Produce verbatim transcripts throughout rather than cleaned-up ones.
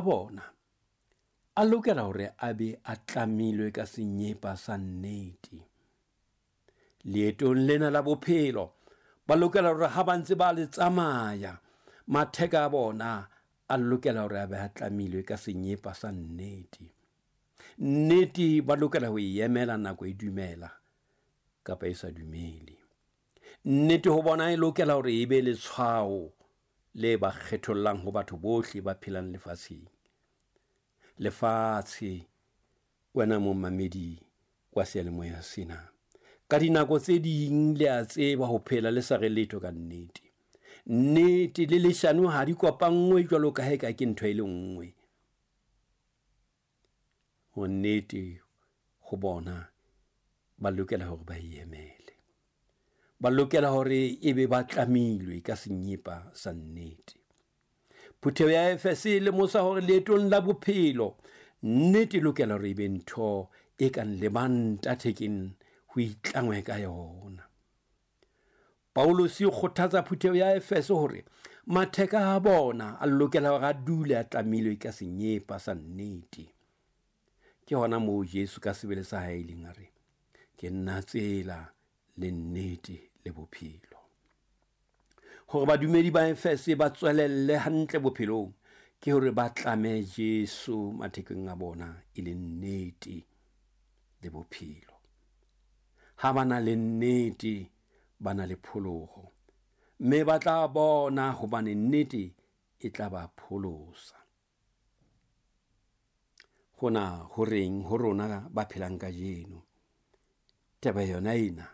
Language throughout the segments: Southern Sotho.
Bona a lokela hore a be a tlamilwe ka senyepa sa nnete. Leetong lena la bophelo ba lokela hore ha ba ntse ba le tsamaya, matheka a bona a lokela hore a be a tlamilwe ka senyepa sa nnete. Nnete ba lokela ho e emela nako e dumela kapa e sa dumele. Nnete ho bona e lokela hore e be letshwao le ba kgethollang ho batho bohle ba phelang lefatsheng. Lefatshe, wena momamedi wa seyalemoya sena, ka dinako tse ding le a tseba ho phela le sa re letho ka nnete. Nnete le leshano ha di kopanngwe jwalo ka ha eka ke ntho e le nngwe. Ho nnete ho bona ba lokela hore ba e emele. Ba lokela hore ebe ba tlamilwe ka senyepa sa nnete. Phutheho ya Efese e lemosa hore leetong la bophelo nnete e lokela hore e be ntho e kang lebanta thekeng ho itlangwe ka yona. Paulus o kgothatsa phutheho ya Efese hore matheka a bona a lokela hore a dule a tlamilwe ka senyepa sa nnete. Ke hona moo Jesu ka sebele sa hae ileng a re, ke nna tsela le nnete le bophelo. Hore badumedi ba Efese ba tswelelle hantle bophelong ke hore ba tlame Jesu mathekeng a bona e le nnete le bophelo. Ha ba na le nnete, ba na le pholoho, mme ba tla bona hobane nnete e tla ba pholosa. Hona ho reng ho rona ba phelang kajeno? Taba yona ena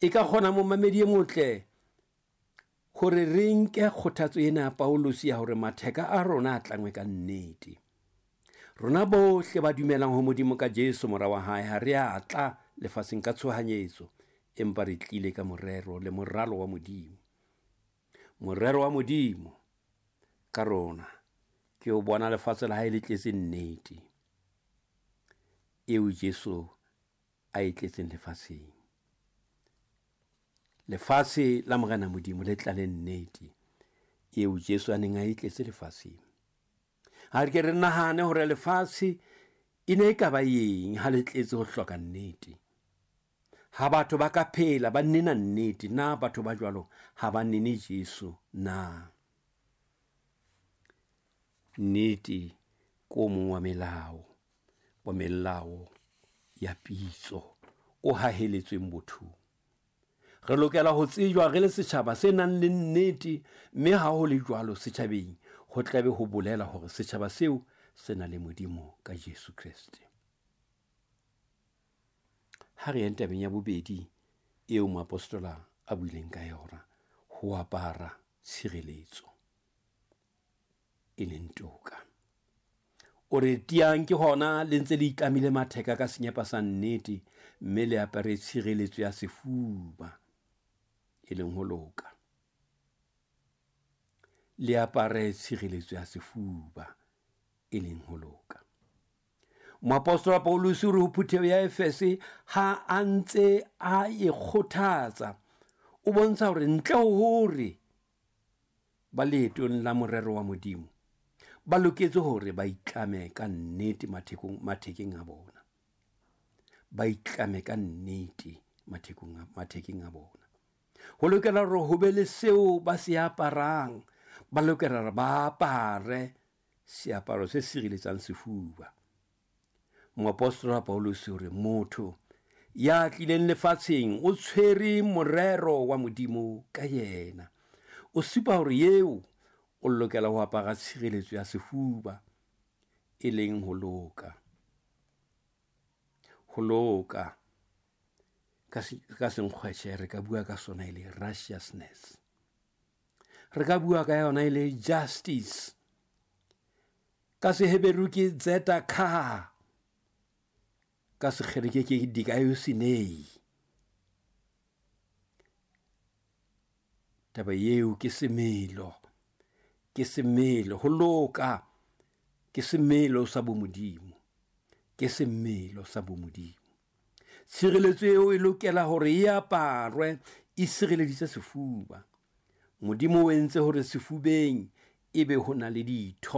e ka kgona momamedi e motle hore re nke kgothatso ena ya Paulus ya hore matheka a rona a tlangwe ka nnete. Rona bohle ba dumelang ho Modimo ka Jesu mora wa hae ha re a tla lefatsheng ka tshohanyetso, empa re tlile ka morero le moralo wa Modimo. Morero wa Modimo ka rona ke ho bona lefatshe la hae le tletse nnete eo Jesu a e tletseng lefatsheng. Lefatshe la Morena Modimo le tlale nnete eo Jesu a neng a e tletse lefatsheng. Ha re ke re nahane hore lefatshe e ne e ka ba eng ha le tletse ho hloka nnete. Ha batho ba ka phela ba nena nnete, na batho ba jwalo ha ba nene Jesu na? Nnete ke o mong wa melao, wa melao ya pitso o haheletsweng bothong. Re lokela ho tsejwa re le setjhaba se nang le nnete, mme ha ho le jwalo setjhabeng ho tlabe ho bolela hore setjhaba seo se na le Modimo ka Jesu Kreste. Ha re yeng tabeng ya bobedi eo moapostola a buileng ka yona, ho apara tshireletso e leng toka. O re tiang ke hona le ntse le itlamile matheka ka senyepa sa nnete, mme le apare tshireletso ya sefuba e leng ho loka. Le apare tshireletso ya sefuba e leng ho loka. Moapostola Paulus o re ho phutheho ya Efese ha a ntse a e kgothatsa, o bontsha hore ntle ho hore ba leetong la morero wa Modimo ba loketse hore ba itlame ka nnete mathekong, mathekeng a bona. Ba itlame ka nnete mathekong a, mathekeng a bona. Ho lokela hore ho be le seo ba se aparang, ba lokela hore ba apare seaparo se sireletsang sefuba. Moapostola Paulus o re motho ya tlileng lefatsheng o tshwere morero wa Modimo ka yena. O supa hore eo o lokela ho apara tshireletso ya sefuba e leng ho loka. Ho loka ka se, ka senkgwetjhe re ka bua ka sona e le righteousness. Re ka bua ka yona e le justice. Ka Seheberu ke tzedakah, ka Sekgerike ke dikaiosune. Taba eo ke semelo, ke semelo, ho loka ke semelo sa bomodimo, ke semelo sa bomodimo. Tshireletso eo e lokela hore e aparwe e sireleditse sefuba. Modimo o entse hore sefubeng ebe ho na le ditho